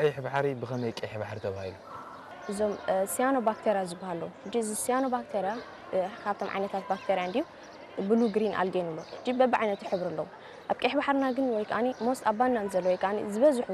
ቀይሕ ባሕሪ ብኸመይ ቀይሕ ባሕሪ ተባሂሉ? እዞም ሲያኖባክተሪያ ዝበሃሉ፣ ሕጂ እዚ ሲያኖባክተሪያ ካብቶም ዓይነታት ባክተሪያ እንድዩ። ብሉ ግሪን ኣልጌ ንብሎ። ሕጂ በብዓይነቱ ሕብሪ ኣለዎ። ኣብ ቀይሕ ባሕርና ግን ወይ ከዓኒ ሞስት ኣብ ባናን ዘሎ ወይ ከዓኒ ዝበዝሑ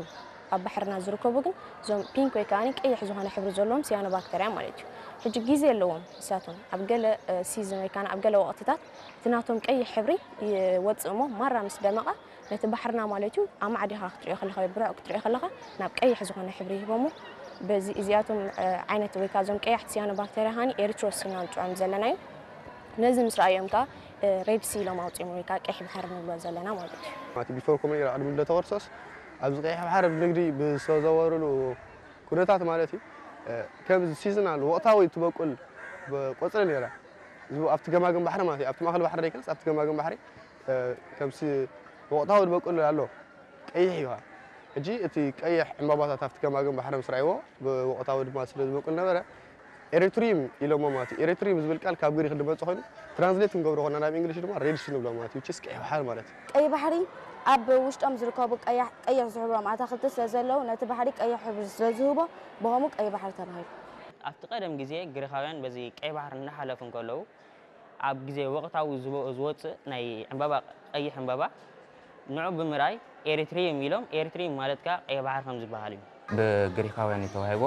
ኣብ ባሕርና ዝርከቡ ግን እዞም ፒንክ ወይ ከዓኒ ቀይሕ ዝኾነ ሕብሪ ዘለዎም ሲያኖባክተሪያ ማለት እዩ። ሕጂ ግዜ ኣለዎም ንሳቶም። ኣብ ገለ ሲዝን ወይ ከዓኒ ኣብ ገለ ወቕትታት እቲ ናቶም ቀይሕ ሕብሪ ይወፅእ እሞ ማራ ምስ ደመቐ ነቲ ባሕርና ማለት እዩ ኣማዕዲኻ ክትሪኦ ከለኻ ወይ ብርዕቕ ክትሪኦ ከለኻ ናብ ቀይሕ ዝኾነ ሕብሪ ይህቦ እሞ በዚ እዚኣቶም ዓይነት ወይ ከዓ እዞም ቀያሕቲ ሲያኖባክተሪያ ከዓኒ ኤሪትሮሲን ኢና ንፅውዖም ዘለና እዩ። ነዚ ምስ ረኣዮም ከዓ ሬድ ሲ ኢሎም ኣውፅኦም ወይ ከዓ ቀይሕ ባሕሪ ንብሎ ዘለና ማለት እዩ። ማለት ቢፎር ኮመን ኢራ ቅድሚ ልደተ ክርስቶስ ኣብዚ ቀይሕ ባሕሪ ብንግዲ ብዝተዘወሩሉ ኩነታት ማለት እዩ ከም ሲዝናል ወቕታዊ ትበቁል ቆፅሊ ነይራ። ኣብቲ ገማግም ባሕሪ ማለት እዩ ኣብቲ ማእኸል ባሕሪ ደይኮነስ ኣብቲ ገማግም ባሕሪ ከም ወቕታዊ ዝበቁል ኣሎ ቀይሕ እዩ። ሕጂ እቲ ቀይሕ ዕምባባታት ኣብቲ ገማግም ባሕሪ ምስ ረኣይዎ ብወቕታዊ ድማ ስለ ዝበቁል ነበረ ኤሪትሪም ኢሎሞ ማለት እዩ። ኤሪትሪም ዝብል ቃል ካብ ግሪክ ዝመጽእ ኮይኑ ትራንስሌት ክንገብሮ ከለና ናብ እንግሊሽ ድማ ሬድ ሲ ንብሎ ማለት እዩ። ቺስ ቀይሕ ባሕሪ ማለት እዩ። ቀይ ባሕሪ ኣብ ውሽጦም ዝርከቡ ቀያሕ- ቀይሕ ዝሕብሮም ኣታኽልቲ ስለ ዘለዉ ነቲ ባሕሪ ቀይሕ ሕብሪ ስለ ዝህቦ ብኸምኡ ቀይ ባሕሪ ተባሂሉ። ኣብቲ ቀደም ግዜ ግሪኻውያን በዚ ቀይ ባሕሪ እናሓለፉ እንከለዉ ኣብ ግዜ ወቕታዊ ዝወ- ዝወጽእ ናይ ዕምባባ ቀይሕ ዕምባባ ንዑ ብምርኣይ ኤሪትሪየም ኢሎም ኤሪትሪየም ማለት ከኣ ቀይሕ ባሕሪ ከም ዝበሃል እዩ። ብግሪኻውያን እዩ ተዋሂቦ።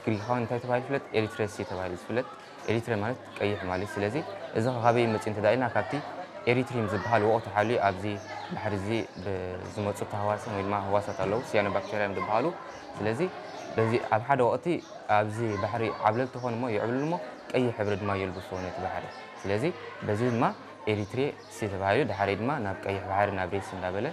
ግሪኻውያን እንታይ ተባሂሉ ይፍለጥ? ኤሪትሬስ እዩ ተባሂሉ ዝፍለጥ። ኤሪትሬ ማለት ቀይሕ ማለት እዩ። ስለዚ እዚ ኸ ካበይ እዩ መጺኡ እንተ ኢልና ካብቲ ኤሪትሪየም ዝበሃል ወቕቱ ሓልዩ ኣብዚ ባሕሪ እዚ ብዝመጹ ተሃዋስያን ወይ ድማ ህዋሳት ኣለዉ፣ ሲያኖባክተርያ እዮም ዝበሃሉ። ስለዚ በዚ ኣብ ሓደ ወቕቲ ኣብዚ ባሕሪ ዓብለልቲ ኾኑ እሞ ይዕብልሉ እሞ ቀይሕ ሕብሪ ድማ የልብስዎ ነቲ ባሕሪ። ስለዚ በዚ ድማ ኤሪትሬ ሲ ተባሂሉ፣ ድሓረይ ድማ ናብ ቀይሕ ባሕሪ ናብ ሬድ ሲ እንዳበለ